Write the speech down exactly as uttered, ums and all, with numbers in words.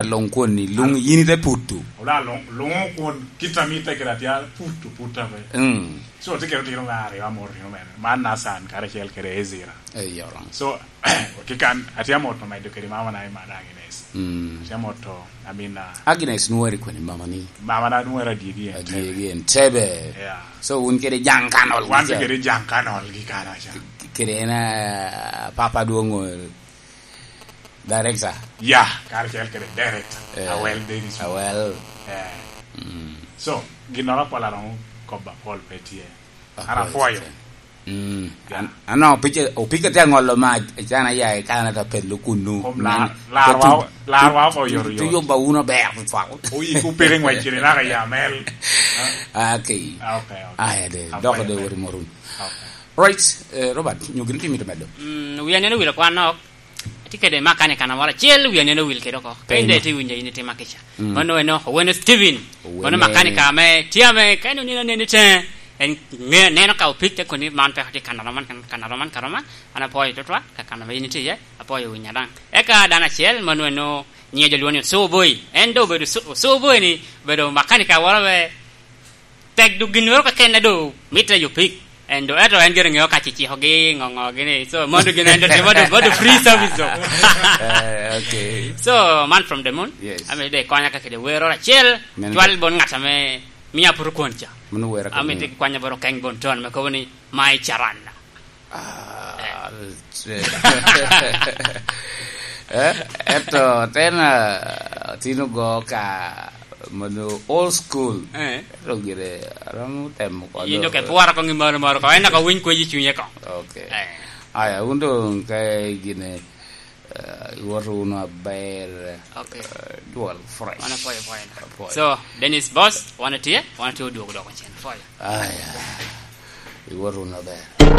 Luŋ kwon ni, luŋ yin ite putu. Ola luŋ, luŋ kwon kit a mitte kede atya putu, putu ape. Mm. So, tye kede otino me aryo, amor otino mene. Man Nathan karacel kede Ezra. Ey, oromo. So, kikan, atye amoto medo kede mama na i Mad Agnes. Mm. Atye amoto, I mean, uh, Agnes nweri kwene mama ni? Mama na nweri Adyegi en Adyegi Tebe. En Tebe. Yeah. So, wun kede Jaŋ Kanol. Wan tye kede Jaŋ Kanol gi kana ca. Kede en, uh, Papa Dwoŋ, uh, Director. Ya, karacel kede director. Eh, Awel Davis. Awel. Eh. Mm. So, ginnoro apol aromo kobo apol pe tye. An apol apwoyo. Mm. Ya. An, an opike, opike te ŋolo ma can aya i Canada pelo kunu. Kom lar, larwa, larwa oko yoto yoto. Tuyubba wun aber tutwal. Oyi ku peke ŋwec kede naka ya mel. Ah, okay. Ah, okay, okay. Aya de, dok de wori morun. Okay. Right, eh, Robert, nyo gin timi to medo. Mm, wi aneno wilo kwan nok. Atye kede makanika na moro acel, wi aneno wil kede oko. Ka in daŋ itye winyo in itimo kica. Mm. Mano eno, Owene Steven. Owene. Mano makanika ame tye ame, ka en onino neno i teŋe, en ŋe-, neno ka opik te koni man peko tye kanaro man, kanaro man, kanaro man. An apwoyo tutwal, ka kanaro ame in itye iye, apwoyo winya daŋ. Eka dano acel, mano eno, nyiŋe jo lwongo ni Osubuy. En doŋ obedo Osu-, Osubuy ni, obedo makanika woro be, tek duk ginnoro keken a doŋ mitte yo pik. En doŋ, ento en gire ŋeo ka cicikogi, ŋo, ŋo gini. So, mondo gin en doŋ timo doŋ, mondo free service doŋ. Eh, okay. So, man from the moon. Yes. Ame de konya ka kede wero acel, meno cwal bon ŋat ame mia puro kwon ca. Mano wero ame kede de kwanya boro keng bon ton, me kobo ni, "My Charana." Ah, eh, ento tena tino go ka mono old school. Eh. Ento gire aromo temo kodo. Yin doŋ ke pwora koŋ i moro moro ko, en doŋ ka winy kweyo i cunye ko. Okay. Eh. Aya, un doŋ ka gine, eh, iwoto wunu aber, okay, eh, dwol fresh. Wan apwoyo, apwoyo. Apwoyo. So, Dennis Boss, wan atye, wan atye odwogo dok ocen. Apwoyo. Aya, iwoto wunu aber.